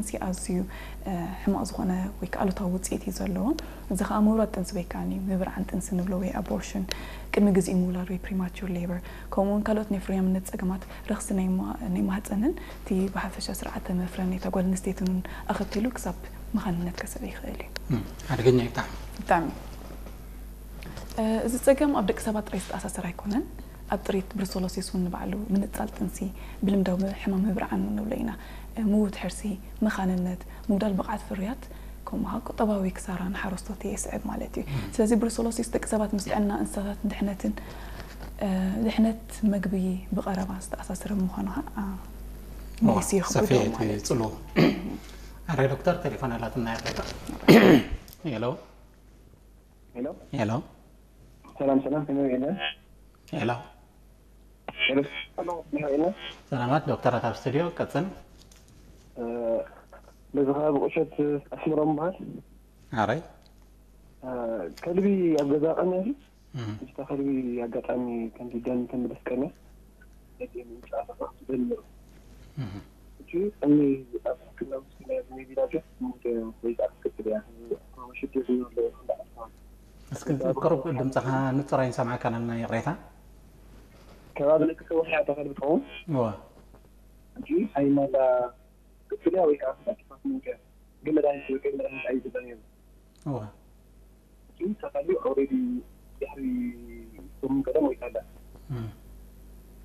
እዚ ኣዝዩ ሕማቕ ዝኾነ ወይ ከዓ ኣሉታዊ ውፅኢት እዩ ዘለዎ። እዚ ከዓ ምውራድ ጥንሲ ወይ ከዓ ምብርዓን ጥንሲ ንብሎ ወይ ኣቦርሽን፣ ቅድሚ ግዜኡ ምውላድ ወይ ፕሪማቹር ሌበር፣ ከምኡ እውን ካልኦት ናይ ፍርያምነት ፀገማት ረኽሲ ናይ ማህፀንን እቲ ብሓፈሻ ስርዓተ መፍረን እታ ጓል ኣንስተይትን እውን ኣኸቲሉ ክሳብ መኻንነት ከስዕብ ይኽእል እዩ። ሓደገኛ እዩ ብጣዕሚ። ብጣዕሚ። እዚ ፀገም ኣብ ደቂ ሰባት ጥራይ ዝተኣሳሰር ኣይኮነን። ኣብ ጥሪት ብሩሰሎሲስ እውን ንባዕሉ ምንፃል ጥንሲ፣ ብልምዳዊ ሕማም ምብርዓን ንብሎ ኢና። ምውት ሕርሲ፣ መኻንነት፣ ምጉዳል ብቕዓት ፍርያት፣ ከምኡ ቁጠባዊ ክሳራ ንሓረስቶት የስዕብ ማለት እዩ። ስለዚ ብሩሰሎሲስ ደቂ ሰባት ምስ ጥዕና እንስሳታትን ድሕነትን ድሕነት መግቢ ብቐረባ ዝተኣሳሰረ ምዃኑ ከዓ መሊሱ ይኽብዶ ማለት እዩ። ኣረ ዶክተር ቴሌፎን ኣላትና። ሄሎ ሄሎ ሄሎ ሰላም ሰላም፣ ከመይ ውዒለ? ሄሎ ሄሎ ሰላም፣ ከመይ ውዒለ? ሰላማት ዶክተራት ኣብ ስቱዲዮ ቀጽል። በዚ ከባቢ ቁሸት ኣስምሮም በሃል። ኣረይ ከልቢ ኣብ ገዛ ቀንያ። ምስታ ከልቢ ኣጋጣሚ ከምዚ ደም ተምልስ ቀንያ። ነቲ ምንጫ ተፋቱ ደም ነሩ። እቲ እኒ ኣብ ሕክምና ውስጥ ናይ ሜቢ ላጀት ሙደ ወይ ዛዕት ክትል እያ። ሽግር ዘይብለ እንዳዕርፋ። እስኪ ቅሩብ ድምፅኻ ንፁር ኣይንሰምዓካን ኣለና፣ ይቕሬታ። ከባቢ ልክሰ ውሕያ ተኸልቢ ትኸውን። እዋ እንጂ ሃይማላ ክትልያ ወይ ከዓ ክሳብ ክፋት ምንቀ ግን መድሃኒት ወይ ግን መድሃኒት ኣይዝበን እዩ። እዋ እቲ ተኸልዩ ኦልሬዲ ድሕሪ ሰሙን ቀደም ወይ ካላ እም።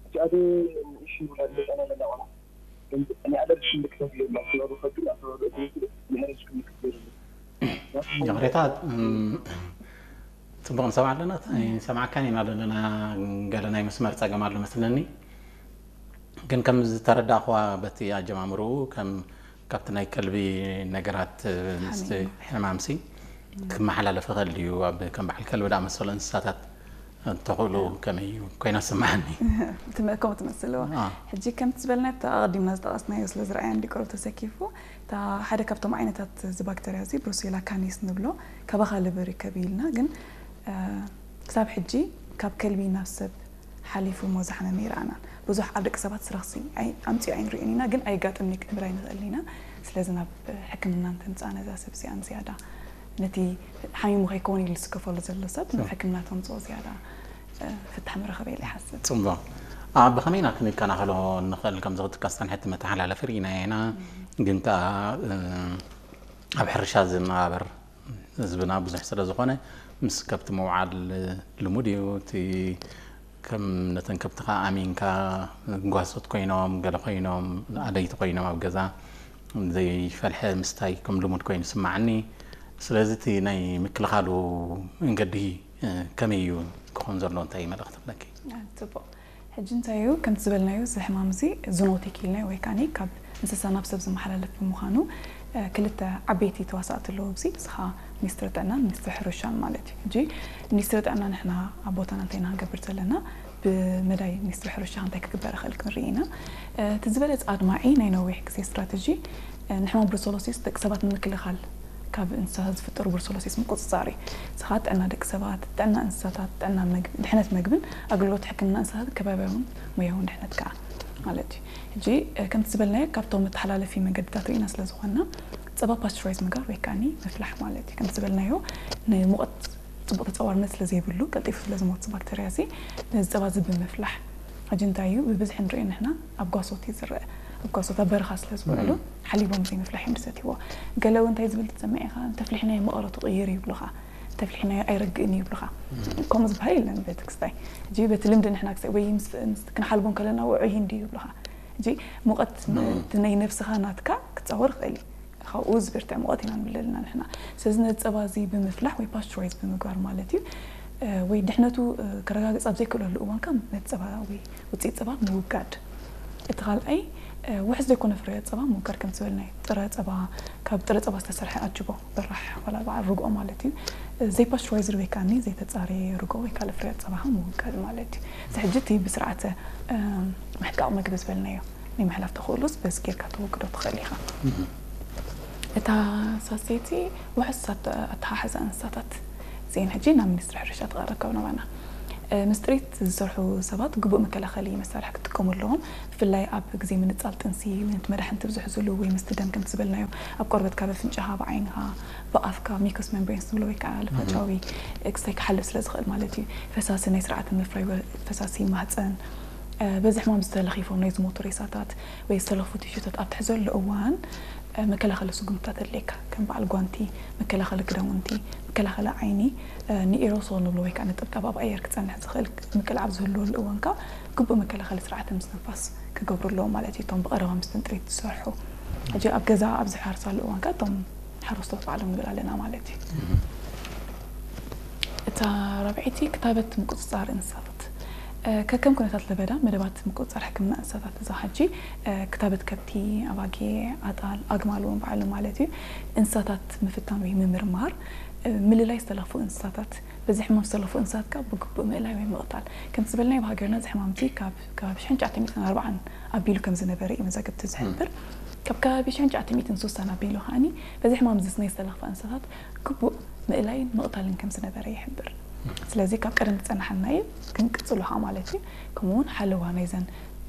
እቲ ኣቶ ንእሽ ውላድ መጠና ለላ ቆላ ግን ናይ ኣለርጂ ምልክታት የብላ። ኣተባቢ ከብዱ ኣተባቢ እግሪ ናይ ኣለርጂ ምልክት የብሉ። ይቕሬታ እም፣ ፅቡቕ ንሰምዓ ኣለና። ንሰምዓካን ኢና ዘለና። ገለ ናይ መስመር ፀገም ኣሎ መስለኒ። ግን ከም ዝተረዳእኽዋ በቲ ኣጀማምርኡ ከም ካብቲ ናይ ከልቢ ነገራት ምስቲ ሕማምሲ ክመሓላለፍ ይኽእል ድዩ? ኣብ ከም በዓል ከልቢ ዝኣመሰሉ እንስሳታት እንተኽእሉ ከመይ እዩ ኮይና ዝስምዓኒ። ከምኡ ትመስልዎ። ሕጂ ከምቲ ዝበልና ኣብቲ ኣቐዲምና ዝጠቐስናዮ ስለ ዝረኣያ እንዲ ቅሩብ ተሰኪፉ፣ እታ ሓደ ካብቶም ዓይነታት እዚ ባክተርያ እዚ ብሩሴላ ካኒስ ንብሎ ካባኻ ልቢ ርከብ ኢልና፣ ግን ክሳብ ሕጂ ካብ ከልቢ ናብ ሰብ ሓሊፉ እሞ ዝሓመመ ይረኣናን። ብዙሕ ኣብ ደቂ ሰባት ስረኽሲ ኣምፅኡ ኣይንሪእን ኢና፣ ግን ኣየጋጥምን እዩ ክንብል ኣይንኽእልን ኢና። ስለዚ ናብ ሕክምና እንተምፅኣ ነዛ ሰብ እዚኣ ንዝያዳ ነቲ ሓሚሙ ከይከውን ኢሉ ዝስከፈሉ ዘሎ ሰብ ናብ ሕክምና ተምፅኦ ዝያዳ ፍታሕ ምረኸበ ኢለ ይሓስብ። ፅቡቕ። ኣብ ብኸመይ ኢና ክንከናኸሎ ንኽእል? ከምዚ ክትካስተን ሕቲ መተሓላለፊ ርኢና ኢና፣ ግን ከኣ ኣብ ሕርሻ ዝነባበር ህዝብና ብዙሕ ስለ ዝኾነ ምስ ከብቲ ምውዓል ልሙድ እዩ። እቲ ከም ነተን ከብትኻ ኣሚንካ ጓሶት ኮይኖም ገለ ኮይኖም ኣደይቲ ኮይኖም ኣብ ገዛ ዘይፈልሐ ምስታይ ከም ልሙድ ኮይኑ ስማዓኒ። ስለዚ እቲ ናይ ምክልኻሉ መንገዲ ከመይ እዩ ክኾን ዘለዎ? እንታይ መልእኽቲ ኣለኪ? ጽቡቕ። ሕጂ እንታይ እዩ ከምቲ ዝበልናዮ እዚ ሕማም እዚ ዙኖቲክ ኢልናዮ ወይ ከዓኒ ካብ እንስሳ ናብ ሰብ ዝመሓላለፍ ብምዃኑ ክልተ ዓበይቲ ተዋሳእቲ ኣለዉ ኣብዚ፣ እዚ ከዓ ሚኒስትሪ ጥዕናን ሚኒስትሪ ሕርሻን ማለት እዩ። ሕጂ ሚኒስትሪ ጥዕና ንሕና ኣብ ቦታና እንታይ ኢና ክንገብር ዘለና፣ ብመዳይ ሚኒስትሪ ሕርሻ እንታይ ክግበር ይኽእል ክንርኢ ኢና። እቲ ዝበለፀ ኣድማዒ ናይ ነዊሕ ግዜ ስትራተጂ ንሕማም ብሩሰሎሲስ ደቂ ሰባት ንምክልኻል ካብ እንስሳታት ዝፍጠሩ ብሩሰሎሲስ ምቁፅፃር እዩ። እዚ ከዓ ጥዕና ደቂ ሰባት፣ ጥዕና እንስሳታት፣ ጥዕና መግቢ፣ ድሕነት መግብን ኣገልግሎት ሕክምና እንስሳትን ከባቢያውን ሞያውን ድሕነት ከዓ ማለት እዩ። ሕጂ ከምቲ ዝበልናዮ ካብቶም መተሓላለፊ መንገድታት ርኢና ስለ ዝኾንና ፀባ ፓስቸራይዝ ምግባር ወይ ከዓኒ ምፍላሕ ማለት እዩ። ከምቲ ዝበልናዮ ንሙቐት ፅቡቕ ተፃዋርነት ስለ ዘይብሉ ቀልጢፉ ስለ ዝሞት ባክተርያ እዚ ነዚ ፀባ እዚ ብምፍላሕ ሕጂ እንታይ እዩ ብብዝሒ ንሪኦ ንሕና ኣብ ጓሶት እዩ ዝረአ። ኣብ ጓሶት ኣብ በረኻ ስለ ዝበሉ ሓሊቦም ዘይምፍላሕ እዮም ዝሰትይዎ። ገለ እውን እንታይ ዝብል ትሰምዕ ኢኻ፣ እንተፍሊሕናዮ መቐረቱ ቅይር ይብሉኻ፣ እንተፍሊሕናዮ ኣይረግእን ይብሉኻ። ከምኡ ዝበሃል የለን በቲ ክስታይ። ሕጂ በቲ ልምዲ ንሕና ክሳይ ወይ ምስ- ምስ- ክንሓልቦ ከለና ውዑይ ሂንዲ ይብሉኻ። ሕጂ ሙቐት እቲ ናይ ነብስኻ ናትካ ክፃወር ይኽእል እዩ። ካብኡ ዝብርትዕ ሙቐት ኢና ንብል ኣለና ንሕና። ስለዚ ነዚ ፀባ እዚ ብምፍላሕ ወይ ፓስቸራይዝ ብምግባር ማለት እዩ። ወይ ድሕነቱ ከረጋግፅ ኣብ ዘይክእለሉ እዋን ከዓ ነቲ ፀባ ወይ ውፅኢት ፀባ ምውጋድ። እቲ ካልኣይ ውሕስ ዘይኮነ ፍርያት ፀባ ምውጋድ፣ ከም ዝበልናዮ ጥረ ፀባ፣ ካብ ጥረ ፀባ ዝተሰርሐ ኣጅቦ በራሕ ዋላ በዓል ርግኦ ማለት እዩ። ዘይፓስቸራይዝድ ወይ ከዓ ዘይተፃረየ ርግኦ ወይ ካልእ ፍርያት ፀባ ከዓ ምውጋድ ማለት እዩ። እዚ ሕጂ እቲ ብስርዓተ ምሕቃቕ ምግቢ ዝበልናዮ ናይ ምሕላፍ ተኽእሎስ በዚ ጌርካ ተወግዶ ትኽእል ኢኻ። እታ ሳሴቲ ውሕስ ኣተሓሕዛ እንስሳታት እዚአን ሕጂ ናብ ሚኒስትሪ ሕርሻ ትቐርብ ካብ ናባና። ምስ ጥሪት ዝሰርሑ ሰባት ግቡእ መከላኸሊ መሳርሒ ክጥቀሙ ኣለዎም። ብፍላይ ኣብ ግዜ ምንጻል ጥንሲ፣ ነቲ መድሓኒት ትብዝሕዝሉ ወይ ምስቲ ደም ከምቲ ዝበልናዮ ኣብ ቆርበትካ፣ ብኣፍንጫኻ፣ ብዓይንኻ፣ ብኣፍካ፣ ሚኮስ ሜምብሬንስ ንብሎ ወይ ከዓ ልፋጫዊ ክስታይ ክሓልፍ ስለ ዝኽእል ማለት እዩ። ፈሳሲ ናይ ስርዓተ ምፍራይ ወ-፣ ፈሳሲ ማህፀን፣ እ፣ በዚ ሕማም ዝተለኺፎም ናይ ዝሞቱ ሬሳታት ወይ ዝተለኽፉ ቲሹታት ኣብ ትሕዘሉ እዋን፣ እ፣ መከላኸሊ ስጉምትታት ኣድልየካ። ከም በዓል ጓንቲ፣ መከላኸሊ ክዳውንቲ፣ መከላኸሊ ዓይኒ፣ እ፣ ንኤሮሶል ንብሎ ወይ ከዓ ነጠብጣብ ኣብ ኣየር ክጸንሕ ዝኽእል ምቅላዕ ኣብ ዝህልወሉ እዋን ከዓ ግቡእ መከላኸሊ ስርዓተ ምስትንፋስ ክገብሩ ኣለዎም ማለት እዩ። እቶም ብቐረባ ምስ ጥሪት ዝሰርሑ። ሕጂ ኣብ ገዛ ኣብ ዝሓርሳሉ እዋን ከዓ እቶም ሓረስቶት ባዕሎም ንብል ኣለና ማለት እዩ። እታ ራብዐይቲ ክታበት ምቁጽጻር እንስሳታት። እ፣ ከከም ኩነታት ለበዳ መደባት ምቁጽጻር ሕክምና እንስሳታት እዛ ሕጂ፣ እ፣ ክታበት ከብቲ፣ ኣባጊዕ፣ ኣጣል፣ ኣግማል እውን ባዕሉ ማለት እዩ። እንስሳታት ምፍታን ወይ ምምርማር፣ እ፣ ምልላይ ዝተለኽፉ እንስሳታት፣ በዚ ሕማም ዝተለኽፉ እንስሳት ካብ ብግቡእ ምእላይ ወይ ምቕታል። ከምቲ ዝበልናዮ ኣብ ሃገርና እዚ ሕማም እዚ ካብ ከባቢ ሽሕን ትሽዓተ ሚእትን ኣርባዓን ኣቢሉ ከም ዝነበረ እዩ መዛግብቲ ዝሕብር። ካብ ከባቢ ሽሕን ትሽዓተ ሚእትን ስሳን ኣቢሉ ከዓኒ በዚ ሕማም እዚ ናይ ዝተለኽፋ እንስሳታት ግቡእ ምእላይን ምቕታልን ከም ዝነበረ ይሕብር። ስለዚ ካብ ቀደም ዝጸናሓና እዩ፣ ክንቅጽሎ ኸዓ ማለት እዩ። ከምኡ እውን ሓለዋ ናይዘን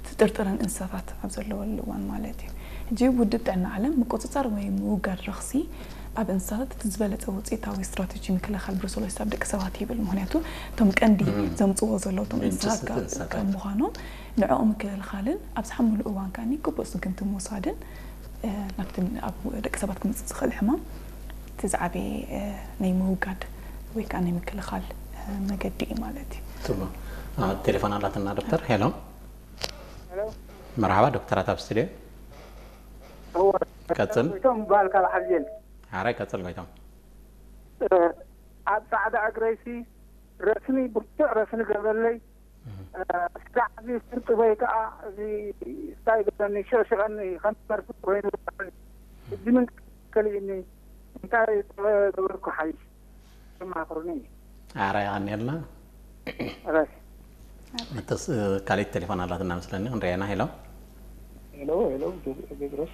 ትጥርጥረን እንስሳታት ኣብ ዘለወሉ እዋን ማለት እዩ። ሕጂ ውድብ ጥዕና ዓለም ምቁጽጻር ወይ ምውጋድ ረኽሲ ኣብ እንስሳታት እቲ ዝበለጸ ውጽኢታዊ ስትራተጂ ምክልኻል ብሩሰሎሲስ ኣብ ደቂ ሰባት ይብል። ምኽንያቱ እቶም ቀንዲ ዘምጽዎ ዘለዉ እቶም እንስሳት ካብ ምዃኖም ንዕኦም ምክልኻልን ኣብ ዝሓምሉ እዋን ከዓኒ ግቡእ ስጉምቲ ምውሳድን፣ እ፣ ናብቲ ኣብ ደቂ ሰባት ክመጽእ ዝኽእል ሕማም እቲ ዝዓበየ፣ እ፣ ናይ ምውጋድ ወይ ከዓ ናይ ምክልኻል፣ እ፣ መገዲ እዩ ማለት እዩ። ጽቡቕ። ቴሌፎን ኣላትና ዶክተር። ሄሎ። ሄሎ። መርሓባ ዶክተራት ኣብ ስቱድዮ። እወ። ቀጽል። ጎይቶም ይበሃል ካብ ሓልዜን። ሓራይ ቀጽል ጎይቶም። እ፣ ኣብ ጻዕዳ እግረይሲ ረስኒ፣ ብርቱዕ ረስኒ ገበለይ። እ፣ ስጋዕ እዚ ስርቂ ወይ ከዓ እዚ እንታይ ገበኒ፣ ሽቕሽቐኒ፣ ከም መርፍእ ኮይኑ። ሕጂ ምን ከልእኒ፣ እንታይ ገበርኩ ሓይሽ? ተማኽሩኒ። ኣረ፣ የቐንየልና። ኣረ። እተስ-፣ ካልኣይቲ ቴሌፎን ኣላትና መስለኒ፣ ክንሪኣና። ሄሎ። ሄሎ፣ ሄሎ፣ ቴድሮስ።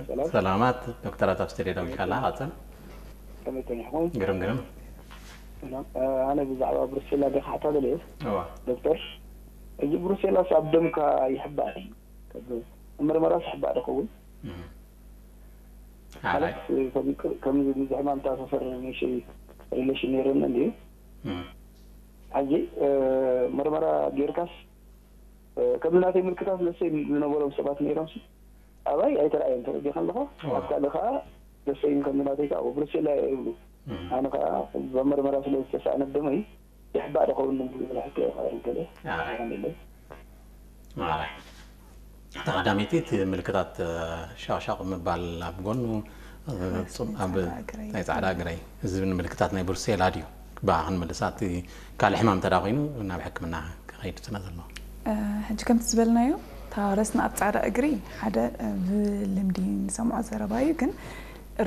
ሰላም። ሰላማት፣ ዶክተራት ኣብ ስቱድዮ ደው ኢልካ ኣለኻ፣ ቀጽል። ከመይ ጸኒሕኩም? ግርም፣ ግርም። ሰላም። እ፣ ኣነ ብዛዕባ ብሩሴላ ዲኻ ሓታ ደልየ? እዋ። ዶክተር፣ እዚ ብሩሴላስ ኣብ ደምካ ይሕባእ ድዩ? ኣብ ምርመራስ ይሕባእ ዶ ኸውን? እም። ማለት፣ ሓራይ። ከም፣ ከም ዝሕማም ተኣሳሰር ንእሽተይ ሪሌሽን ነይሩኒ እንድዩ። እም። ሕጂ፣ እ፣ ምርመራ ጌርካስ፣ እ፣ ከም ናተይ ምልክታት ለሰይ ዝነበሮም ሰባት ነይሮምሲ ኣባይ ኣይተረኣየን። ተረዲኻ ኣለኻ? እዋ። ኣብ ካልእ ኸዓ ለሰይ ከም ናተይ ከዓ ብሩሴላ እየ ይብሉ። እም። ኣነ ኸዓ ብመርመራ ስለ ዝተሳእነ ደመይ ይሕባእ ዶ ኸውን ዝብል ሕቶ እየ ኸዓ ገለ ኣይ። ይኸውን የለን። ኣይ። እታ ቀዳመይቲ እቲ ምልክታት፣ እ፣ ሻቕሻቕ ምባል ኣብ ጎኑ፣ እ፣ ረስኒ፣ ጽም-፣ ኣብ ጻዕዳ እግረይ። ናይ ጻዕዳ እግረይ ዝብል ምልክታት ናይ ብሩሴላ ድዩ? ብኣ ክንምልሳ፣ እቲ ካልእ ሕማም እንተ ደኣ ኮይኑ ናብ ሕክምና ክኸይድ ስለ ዘለዎ። እ፣ ሕጂ ከምቲ ዝበልናዮ፣ እታ ረስኒ ኣብ ጻዕዳ እግሪ ሓደ፣ እ፣ ብልምዲ ንሰምዖ ዘረባ እዩ፣ ግን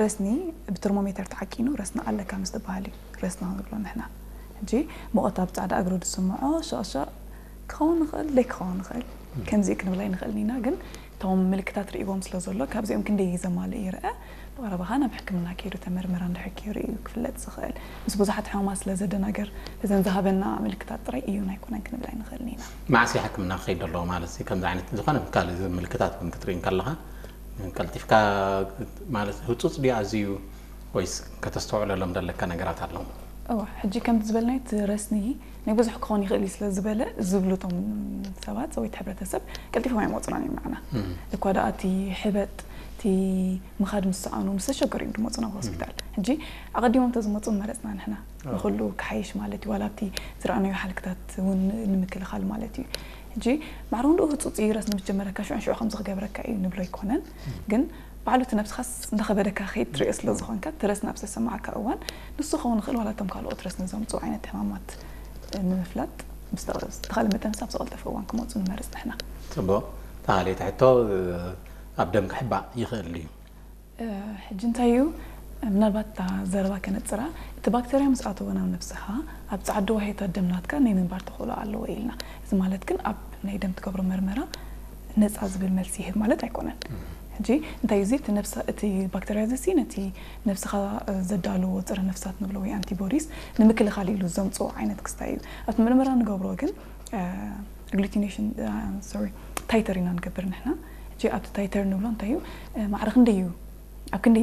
ረስኒ ብተርሞሜተር ተዓቂኑ ረስኒ ኣለካ ምስ ዝበሃል እዩ ረስኒ ንብሎ ንሕና። ሕጂ ሙቐት ኣብ ጻዕዳ እግሩ ዝስምዖ ሸቕሸቕ ክኸውን ይኽእል፣ ዘይክኸውን ይኽእል። ከምዚ እዩ ክንብል ኣይንኽእልን ኢና፣ ግን እቶም ምልክታት ርእይዎም ስለ ዘሎ ካብዚኦም ክንደይ እዩ ዘማልእ ይርአ። ብቐረባኻ ናብ ሕክምና ከይዱ ተመርምራ እንድሕር ከይሩ እዩ ክፍለጥ ዝኽእል። ምስ ብዙሓት ሕማማት ስለ ዘደናገር እዘን ዝሃበና ምልክታት ጥራይ እዩን ኣይኮነን ክንብል ኣይንኽእልን ኢና። መዓስ እዩ ሕክምና ክኸይድ ኣለዎ ማለት እዩ? ከምዚ ዓይነት ዝኾነ ካልእ ምልክታት እውን ክትርኢ እንከለኻ ቀልጢፍካ ማለት ህጹጽ ድዩ ኣዝዩ ወይስ ከተስተውዕለሎም ዘለካ ነገራት ኣለዉ? እዋ፣ ሕጂ ከምቲ ዝበልናዮ እቲ ረስኒ ናይ ብዙሕ ክኸውን ይኽእል እዩ ስለ ዝበለ ዝብሉ እቶም ሰባት ወይ እቲ ሕብረተሰብ ቀልጢፎም ኣይመጹናን እዮም ንዓና። እም። እኳ ደኣ እቲ ሕበጥ፣ እቲ ምኻድ ምስ ሰኣኑ፣ ምስ ተሸገሩ እዮም ዝመጹ ናብ ሆስፒታል። ሕጂ ኣቐዲሞም እንተዝመጹ ምመረጽና ንሕና። ኣዎ። ንኹሉ ክሓይሽ ማለት እዩ፣ ዋላ ኣብቲ ዝረኣናዮ ሓልክታት እውን ንምክልኻል ማለት እዩ። ሕጂ ማዕረ እውን ደኡ ህጹጽ እዩ፣ ረስኒ ምስ ጀመረካ ሽዑ ንሽዑ ከምዚ ክገብረካ እዩ ንብሎ ኣይኮነን። ግን ባዕሉ እቲ ነብስኻስ እንዳኸበደካ ክኸይድ ትሪኦ ስለ ዝኾንካ፣ እቲ ረስኒ ኣብ ዝተሰማዓካ እዋን ንሱ ክኸውን ይኽእል፣ ዋላ እቶም ካልኦት ረስኒ ዘምጽኡ ዓይነት ሕማማት ንምፍላጥ ብዝተኸ-፣ ብዝተኻእለ መጠን ኣብ ዝቐልጠፈ እዋን ክመጹ ንመርጽ ንሕና። ጽቡቕ። እታ ካልኣይቲ ሕቶ፣ ኣብ ደም ክሕባእ ይኽእል ድዩ? እ፣ ሕጂ እንታይ እዩ፣ ምናልባት እታ ዘረባ ከነጽራ፣ እቲ ባክተርያ ምስ ኣተወ ናብ ነብስኻ፣ ኣብ ጻዕዱ ዋህዮታት ደም ናትካ ናይ ምንባር ተኽእሎ ኣለዎ ኢልና። እዚ ማለት ግን ኣብ ናይ ደም ትገብሮ መርመራ ነጻ ዝብል መልሲ ይህብ ማለት ኣይኮነን። ሕጂ እንታይ እዩ እዚ? እቲ ነብሲ እቲ ባክተርያ እዚ ነቲ ነብስኻ ዘዳልዎ ፀረ ነፍሳት ንብሎ ወይ ኣንቲቦዲስ ንምክልኻል ኢሉ ዘምፅኦ ዓይነት ክስታይ እዩ። ኣብቲ ምርመራ ንገብሮ ግን ኣግሉቲኔሽን ሶሪ ታይተር ኢና ንገብር ንሕና። ሕጂ ኣብቲ ታይተር ንብሎ እንታይ እዩ? ማዕረ ክንደይ እዩ? ኣብ ክንደይ